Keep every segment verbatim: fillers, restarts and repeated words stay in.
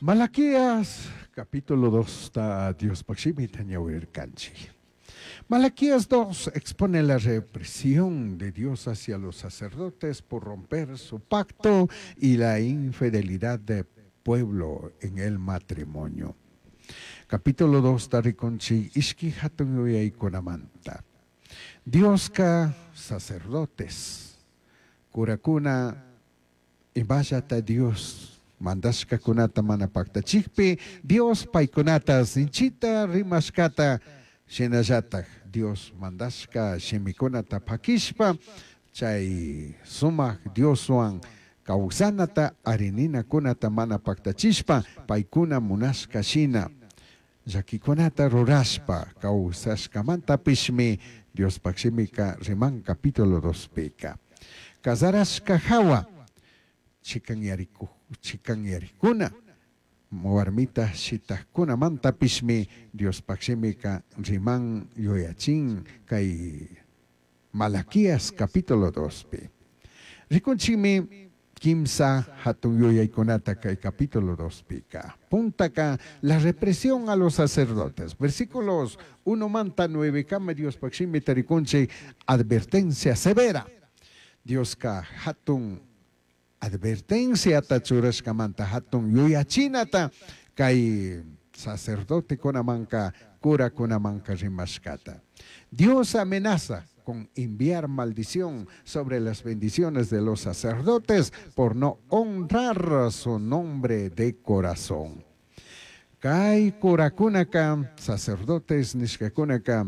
Malaquías capítulo dos ta Diospaj shimita ñawirircanchij. Malaquías dos expone la represión de Dios hacia los sacerdotes por romper su pacto y la infidelidad del pueblo en el matrimonio. Capítulo dos ta rikunchik ishki hatun yuyaykunamanta. Dioska sacerdotes, curakuna imallata Dios mandashkakunata mana paktachikpi Dios paykunata sinchita rimashkata, shinallatak Dios mandashka shimikunata pakishpa chay sumak Dioswan kawsanata arininakunata mana paktachishpa paykuna munashka shina llakikunata rurashpa kawsashkamantapishmi Diospaj shimika riman capítulo dos pika. Kazarashka hawa chikanyariku chikanyarikuna warmita shitakkunamantapishmi Diospaj shimika riman yuyachin kay Malaquías capítulo dos pi. Rikunchikmi kimsa hatun yuyaykunata kay capítulo dos pika. Puntaka la represión a los sacerdotes. Versículos uno manta nueve kama Diospaj shimita rikunchik advertencia severa. Dioska hatun advertenciata churashkamanta hatun yuyachinata kay sacerdotekunamanka curakunamanka rimashkata. Dios amenaza con enviar maldición sobre las bendiciones de los sacerdotes por no honrar su nombre de corazón. Kay curakunaka, sacerdotes nishkakunaka,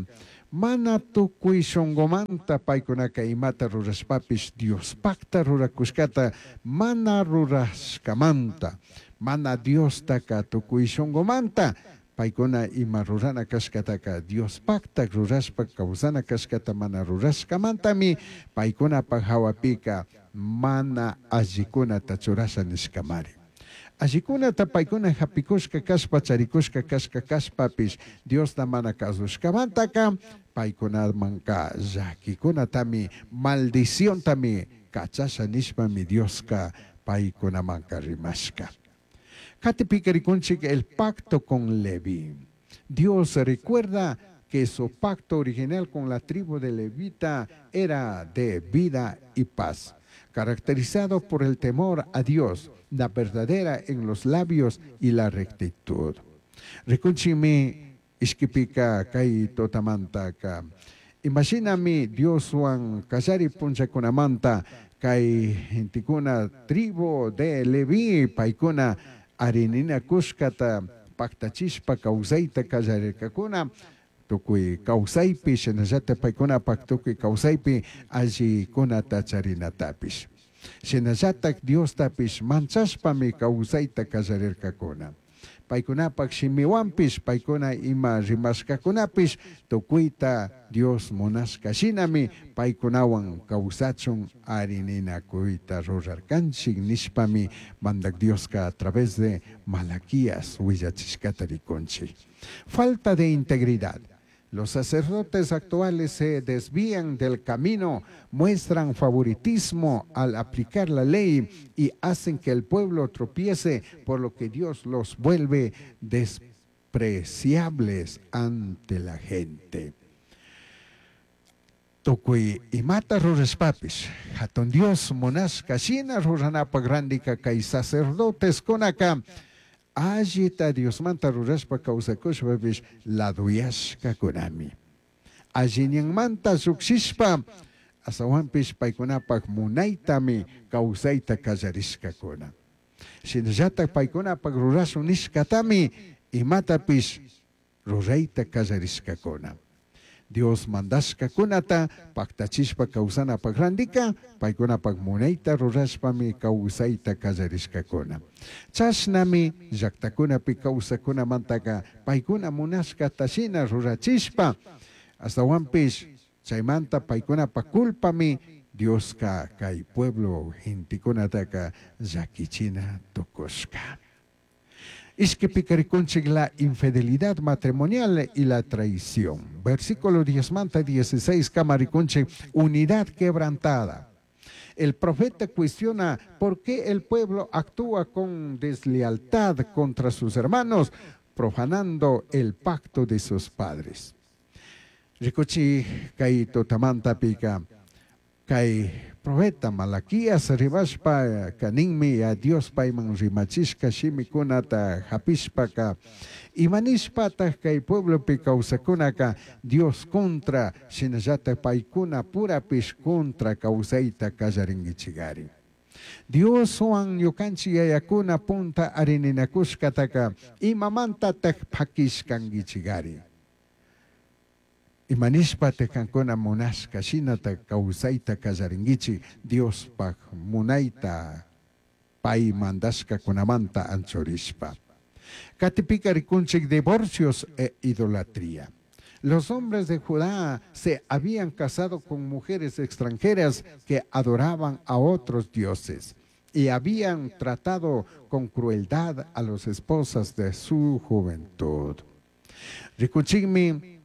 mana tukuy shunqumanta paykunaka imata rurashpapish Diospakta rurakushkata mana rurashkamanta, mana Diostaka tukuy shunqumanta paykuna ima rurana kashkataka Diospakta rurashpa kawsana kashkata mana rurashkamantami paykunapaj hawapika mana allikunata churasha nishkamari. Allikunata paykuna hapikushka kashpa charikushka kashka kashpapish Diosta mana kasushkamantaka paykunamanka llakikunatami maldiciontami kachasha nishpami Dioska paykunamanka rimashka. Katipika rikunchik el pacto con Leví. Dios recuerda que su pacto original con la tribu de Levita era de vida y paz, caracterizado por el temor a Dios, la verdadera en los labios y la rectitud. Rikunchikmi ishkipika kay tutamantaka. Imashinami Dioswan kallari punchakunamanta kay gentekuna tribu de Leví paykuna arininakushkata paktachishpa kawsayta kallarirkakuna tukuy kawsaypi shinallata paykunapak tukuy kawsaypi allikunata charinatapish. Shinallatak Diostapish manchashpami kawsayta kallarirkakuna. Paykunapak shimiwanpish paykuna ima rimashkakunapish tukuyta Dios munashka shinami paykunawan kawsachun arininakuyta rurarkanchik nishpami mandak Dioska a través de Malaquías willachishkata rikunchik. Falta de integridad. Los sacerdotes actuales se desvían del camino, muestran favoritismo al aplicar la ley y hacen que el pueblo tropiece, por lo que Dios los vuelve despreciables ante la gente. Tukuy imata rurashpapish, hatun Dios munashka shina ruranapak randika kay sacerdotes kunaka, allita Diosmanta rurashpa kawsakushpapish laduyashkakunami. Alliñanmanta llukshishpa asawanpish paykunapak munaytami kawsayta kallarishkakuna. Shinallatak paykunapak rurashun nishkatami imatapish rurayta kallarishkakuna. Dios mandashkakunata paktachishpa kawsanapak randika paykunapak munayta rurashpami kawsayta kallarishkakuna. Chashnami llaktakunapi kawsakunamantaka paykuna munashkata shina rurachishpa astawanpish chaymanta paykunapak culpami Dioska kay pueblo gentekunataka llakichina tukushka. Ishkipika rikunchik la infidelidad matrimonial y la traición. Versículo diez manta dieciséis kama rikunchik unidad quebrantada. El profeta cuestiona por qué el pueblo actúa con deslealtad contra sus hermanos, profanando el pacto de sus padres. Ricuchi kay tutamantapika kay profeta Malaquías rimashpa kaninmi ya Dios payman rimachishka shimikunata hapishpaka imanishpataq kay pueblopi kawsakunaka Dios contra shinallatak paykuna purapish contra kawsayta kallarinkichikari. Dioswan ñukanchik yayakuna punta arininakushkataka imamantatak pakishkankichikari. Imanishpataq kankuna munashka shinata kawsayta kallarinkichik Diospaj munayta pay mandashkakunamanta anchurishpa. Katipika rikunchik divorcios e idolatría. Los hombres de Judá se habían casado con mujeres extranjeras que adoraban a otros dioses y habían tratado con crueldad a las esposas de su juventud. Rikunchikmi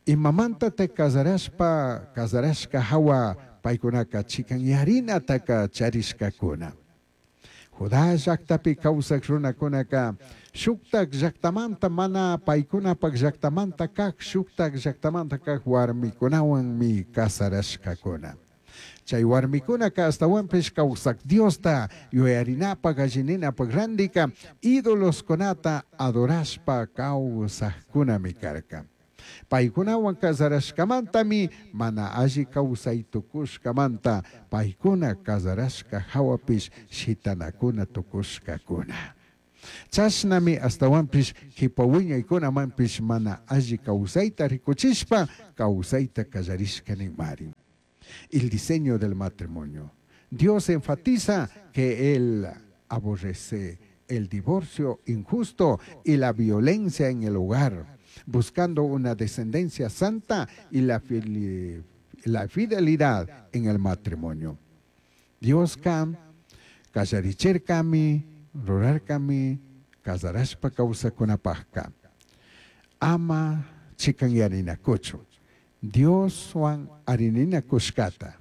imamanta te casarashpa, casarashka hawa paykunaka chikanyarinataka charishkakuna. Judá llaktapi kawsak runakunaka shuktak llaktamanta mana paykunapak llaktamanta kak shuktak llaktamanta kak warmikunawanmi kasarashkakuna. Chay warmikunaka astawanpish kawsak Diosta yuyarinapak allininapak randika ídoloskunata adorashpa kawsakkunami karka. Paykunawan kasarashkamantami mana alli kawsay tukushkamanta paykuna kasarashka hawapish shitanakuna tukushkakuna. Chashnami astawanpish qipa wiñaykunamanpish mana alli kawsayta rikuchishpa kawsayta kallarishka ninmari. El diseño del matrimonio. Dios enfatiza que Él aborrece el divorcio injusto y la violencia en el hogar, buscando una descendencia santa y la, la fidelidad en el matrimonio. Dios kam, kallarichirkami, rurarkami, kasarashpa kawsakunapajka. Ama chikanyaninakuchu. Dioswan arininakushkata.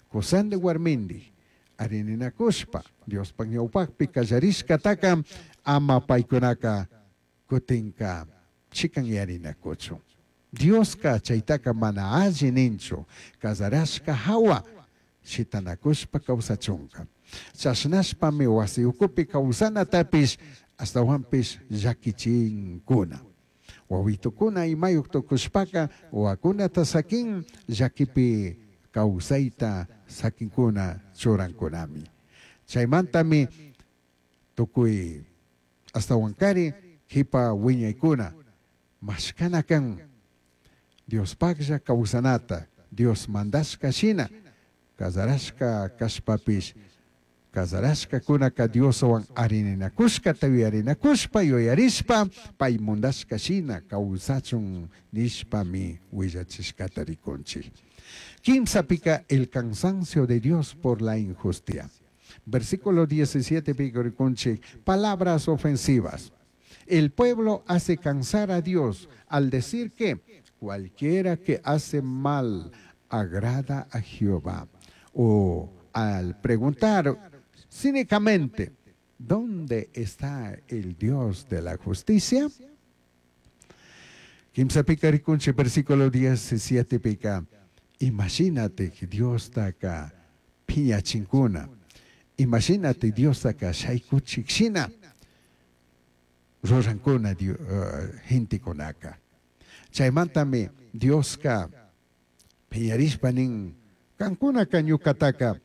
Kusandi warmindi arininakushpa. Diospaj ñawpakpi kallarishkataka ama paykunaka kutinka chikanyarinakuchu. Dioska chaytaka mana alli ninchu kasarashka hawa shitanakushpa kawsachunka. Chashnashpami wasi ukupi kawsanatapish astawanpish llakichinkuna. Wawitukuna imayuq tukushpaka wawakunata sakin llakipi kawsayta sakinkuna churankunami. Chaymantami tukuy astawankari qipa wiñaykuna mashkana kan Diospaklla kawsanata Dios mandashka shina kasarashka kashpapish kasarashkakunaka Dioswan arininakushkata yuyarinakushpa yuyarishpa pay mundashka shina kawsachun nishpami willachishkata rikunchik. Kimsapika el cansancio de Dios por la injusticia. Versículo diecisiete rikunchik, palabras ofensivas. El pueblo hace cansar a Dios al decir que cualquiera que hace mal agrada a Jehová. O al preguntar cínicamente, ¿dónde está el Dios de la justicia? Kimsapika rikunchik, versículo diecisiete pica. Imagínate que Dios taka piñachinkuna. Imagínate Dios taka shaykuchikshina. Rurankuna uh, gentekunaka. Chaymantami Dioska piñarishpa nin kankunaka ñukataka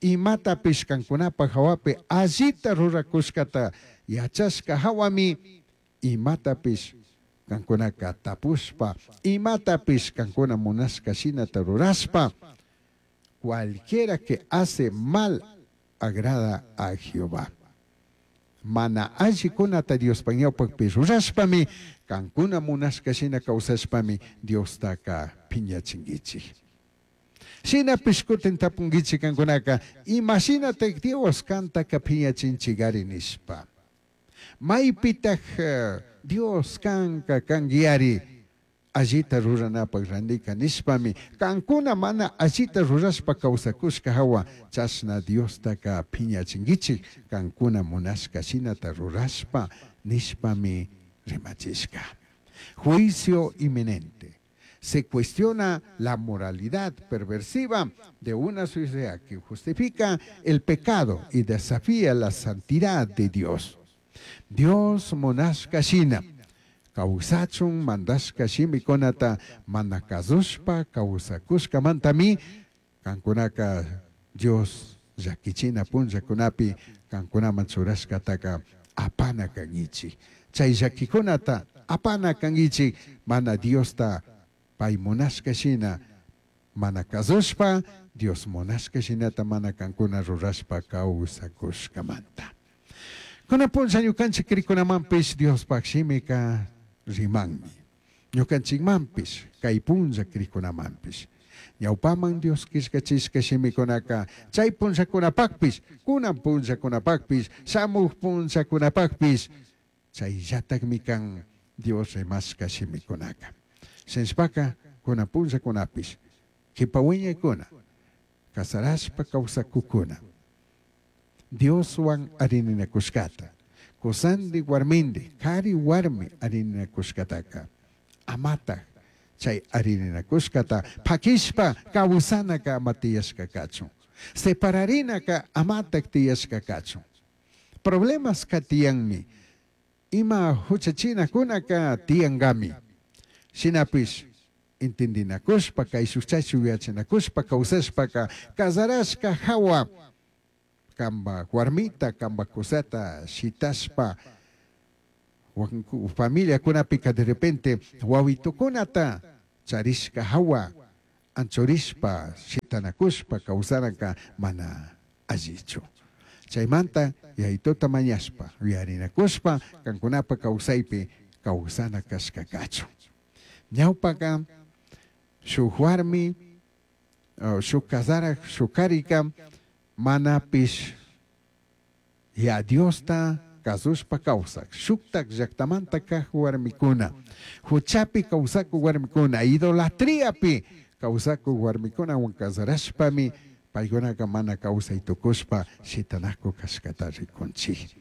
imatapish kankunapaj hawapi allita rurakushkata yachashka hawami imatapish kankunaka tapushpa imatapish kankuna munashka shinata rurashpa cualquiera que hace mal agrada a Jehová. Mana allikunata Diospaj ñawpakpi rurashpami kankuna munashka shina kawsashpami Diostaka piñachinkichik. Shinapish kutin tapunkichik kankunaka imashinatak Dios kantaka piñachinchikari nishpa. Maypitaj Dios kanka kankiari Allita ruranapaj randika nishpami kankuna mana allita rurashpa kawsakushka hawa chashna Diostaka piñachinguichij kankuna munashka shinata rurashpa nishpami rimachishka. Juicio inminente. Se cuestiona la moralidad perversiva de una sociedad que justifica el pecado y desafía la santidad de Dios. Dios munashka shina kawsachun mandashka shimikunata mana kazushpa kawsakushkamantami kankunaka Dios llakichina punllakunapi kankunaman churashkataka apana kankichik. Chay llakikunata apana kankichik mana Diosta pay munashka shina mana kazushpa Dios munashka shinata mana kankuna rurashpa kawsakushkamanta. Kuna punlla ñukanchik krikunamanpish Diospaj shimika rimanmi. Ñukanchikmanpish kay punlla krikunamanpish. Ñawpaman Dios killkachishka shimikunaka chay punllakunapakpish kunan punllakunapakpish shamuj punllakunapakpish chayllatakmi kan Dios rimashka shimikunaka. Shinashpaka kunan punllakunapish kipa wiñaykuna kasarashpa kawsakukuna Dioswan arininakushkata kusandi warmindi kari warmi arininakushkataka amataj chay arininakushkata pakishpa kawsanaka ama tiyashka kachun separarinaka amataj tiyashka kachun. Problemas ka tiyanmi ima huchachinakunaka tiyankami shinapish entendinakushpa kayshuk chayshuk yachanakushpa kawsashpaka kasarashka hawa kamba warmita kamba kusata shitashpa familiakunapika de repente wawitukunata charishka hawa anchurishpa shitanakushpa kawsanaka mana allichu. Chaymanta yayituta mañashpa yuyarinakushpa kankunapa kawsaypi kawsana kashka kachun. Ñawpaka shuk warmi shuk kasarak shuk karika manapish ya Diosta kasushpa kawsak shuktak llaktamanta kaj warmikuna huchapi kawsakuk warmikuna idolatriapi kawsakuk warmikunawan kasarashpami paykunaka mana kawsay tukushpa shitanakuk kashkata rikunchik.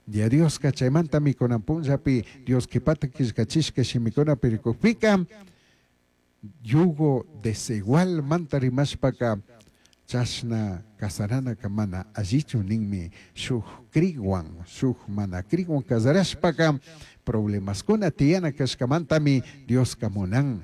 Ya Dioska chaymantami kunan punllapi Dios kipata killkachishka shimikunapi rikukpika yugo desigual manta rimashpaka chashna kasaranaka mana allichu ninmi shuk krikwan shuk mana krikwan kasarashpaka problemaskuna tiyana kashkamantami Dioska munan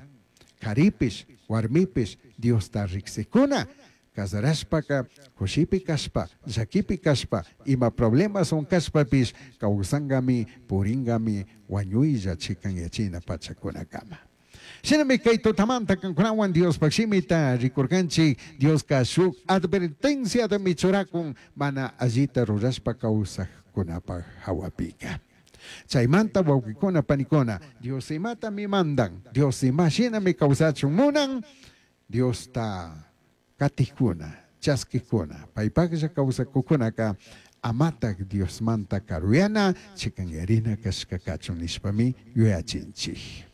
karipish warmipish Diosta riksikuna kasarashpaka kushipi kashpa llakipi kashpa ima problemaswan kashpapish kawsankami purinkami wañuylla chikanyachina pachakunakama. Shinami kay tutamanta kankunawan Diospaj shimita rikurkanchik Dioska shuk advertenciatami churakun mana allita rurashpa kawsakkunapaj hawapika. Chaymanta wawqikuna panikuna Dios imatami mandan Dios ima shinami kawsachun munan Diosta katikuna chaskikuna paypaklla kawsakukunaka amatak Diosmanta karuyana chikanyarina kashka kachun nishpami yuyachinchik.